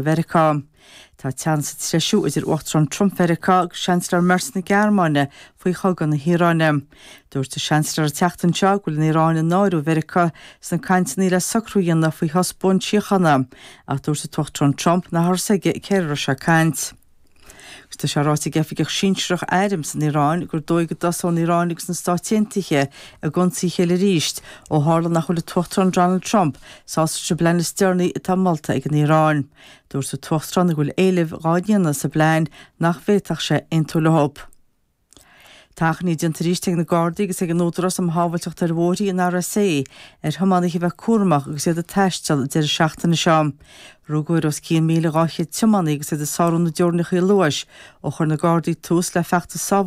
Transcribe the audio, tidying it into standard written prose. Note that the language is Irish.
Mheiriceá. Tá teannas ag treisiú idir Uachtarán Trump Mheiriceá agus Seansailéir Merz na Gearmáine faoi chogadh na hIaráine. Dúirt an Seansailéir an tseachtain seo go bhfuil an Iaráin á náiriú i Mheiriceá sna cainteanna le socrú a dhéanamh faoi shos buan síochána, ach dúirt an tUachtarán Trump nach raibh a fhios aige cé a raibh sé ag caint. Agus tá sé ráite ag oifigeach sinsearach airm san Iaráin gur dóigh go dtosóidh an Iaráin agus na Stáit Aontaithe ag ionsaí a chéile arís ó tharla nach bhfuil an tUachtarán Donald Trump sásta leis an bplean is deireanaí atá molta ag an Iaráin. Dúirt an tUachtarán go bhfuil éilimh dhá ndéanamh sa bplean nach bhféadfadh sé aontú leo. Tá achainí déanta arís ag na Gardaí agus ag an Údarás um Shábháilteacht ar Bhóithre, an RSA, ar thiománaithe a bheith cúramach agus iad ag taisteal an deireadh seachtaine seo. Rugadh ar os cionn 1,200 tiománaí agus iad ag sárú na dteorainneacha luais ó chuir na Gardaí tús le feachtas sábháilteachta.